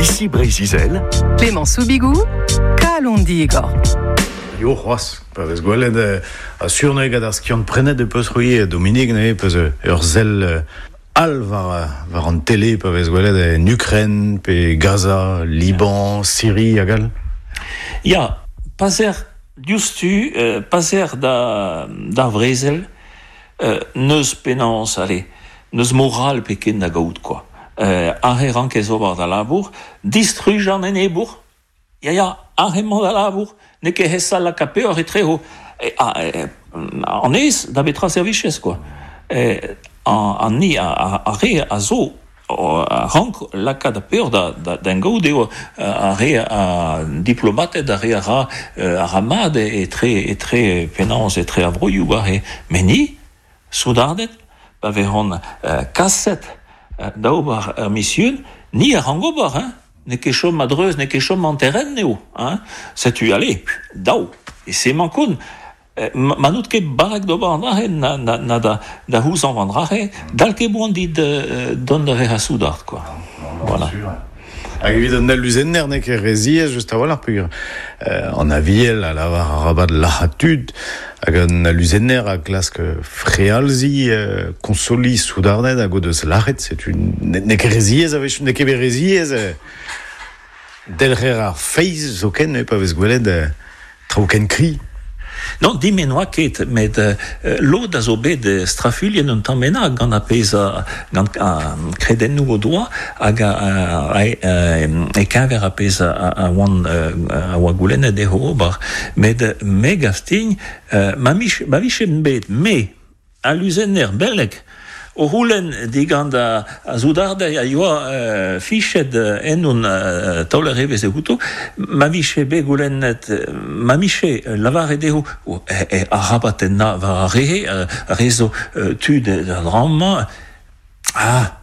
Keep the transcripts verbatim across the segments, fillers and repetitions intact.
Ici Breizh-Izel, Clément Soubigou, Kalon Digor. Yo c'hoazh, pa vez gwelet euh, a surne gant ar skiant prenet e peus c'houi Dominique ne peus ur zel euh, al war, war an tele pa vez gwelet en Ukraine, pe Gaza, Liban, Syrie hag all. Ya, paser diouzhtu, euh, paser da, d'ar vrezel, euh, neus penaos, allez, neus moral pe ken da gaout, quoi. Euh, arre rankez ober da labour, distruj an enebour, ya ya, arre emañ da labour, n'eo ket hesa laka peoc'h etrezo, e, a, e, an ez da betra servichez, quoi. E, an, an ni a, a, a re a zo a rank lakaat ar peoc'h da, da, da gaout eo a re a diplomated a re a ra a ra mat etre etre penaos etre ar broioù war e met ni soudarded pa vezont uh, kaset uh, da ober ur mision ni a rank ober hein. N'eo ket chom a-dreuz, n'eo ket chom an terren eo, hein. Setu, allez, dao, e se emañ kont. Ma n'out ket barrek d'ober an dra-se, na, na, na da, da c'houzañv an dra-se, dal ket boan dit euh, dont da vezañ soudard, quoi. Voilà. Hag evit an aluzenner n'eo ket re ziaes just a-walc'h peogwir euh, an aviel a lavar arabat lazhañ tud hag an aluzenner a klask frealziñ euh, konsoliñ soudarded hag o deus lazhet, setu n'eo ket re ziaes a-wechoù, n'eo ket re ziaes euh, delc'her ar feiz zoken, pa vez gwelet euh, traoù ken kri. Non, din me n'oa ket, met euh, lod a zo bet strafuilhet un tamm bennak gant ar pezh a, gant a kredennoù o doa hag a, a, a, e keñver ar pezh a, a, oan, a oa goulennet dezho ober. Met me gav din, euh, ma, mich, ma vijen bet, me, aluzenner beleg, o c'houlenn digant a, a soudarded a yoa euh, fichet ennon euh, taoler evezh outo, ma vije bet goulennet, ma miche lavaret dezho oh, e, e, arabat tennañ war ar re, ar re zo tud da dra-mañ, ah,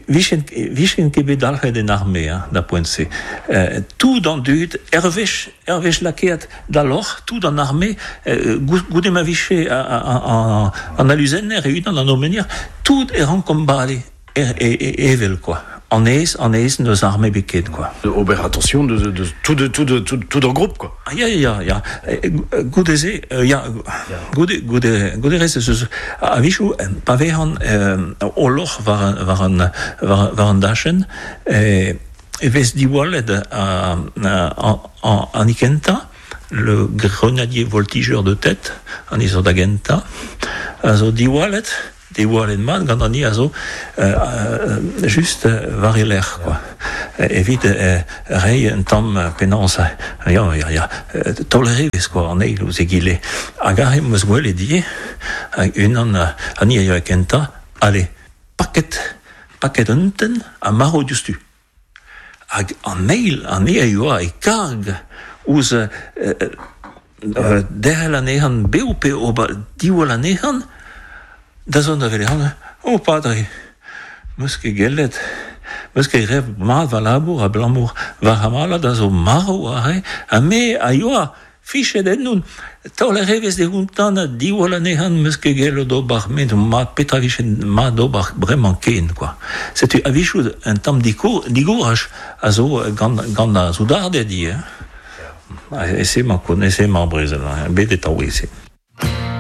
vijen, vijen ket bet dalc'het en arme, hein, da poent-se. Euh, tout an dud, ur wech, ur wech lakaet da loc'h, tout an arme, euh, goude ma vije an aluzenner e unan an aumônier, tout e rankomp bale, er, e, e, evel, quoi. An ez, an ez neus arme bet ket, quoi. Ober attention de, de, tout, de, tout, de, tout, tout en groupe, quoi. Ah, ya, ya, ya. Goude se, ya, goude, goude, goude rez, eus, a-wechoù, pa vezan euh, o loc'h war, war, an, war, war an dachenn, e, e vez diwallet a, a, a, an ikenta, le grenadier voltigeur de tête, an izo da gentañ, a zo diwallet, diwallet mat gant an ni a zo euh, just war e lerc'h, quoi. Evit euh, reiñ un tamm penaos, ya, ya, ya, taoler evezh, quoi, an eil ouzh egile. Hag aze 'm eus gwelet ivez, hag unan an ni a yoa kentañ, allez, paket, paket un tenn ha marv diouzhtu. Hag an eil, an ni a yoa e karg ouzh euh, euh, derc'hel anezhan bev pe ober diwall anezhan, da zont da welet, oh padre, 'meus ket gellet, 'meus ket graet mat va labour abalamour va c'hamalad a zo marv aze, ha me a yoa fichet ennon, taoler evezh de ountan ha diwall anezhan 'meus ket gellet ober met mat petra vije mat ober bremañ ken, quoi. Setu a-wechoù un tamm digouraj a zo gant, gant ar soudarded ivez, hein. E se emañ kont, e se emañ ar brezel, bet e taoueze.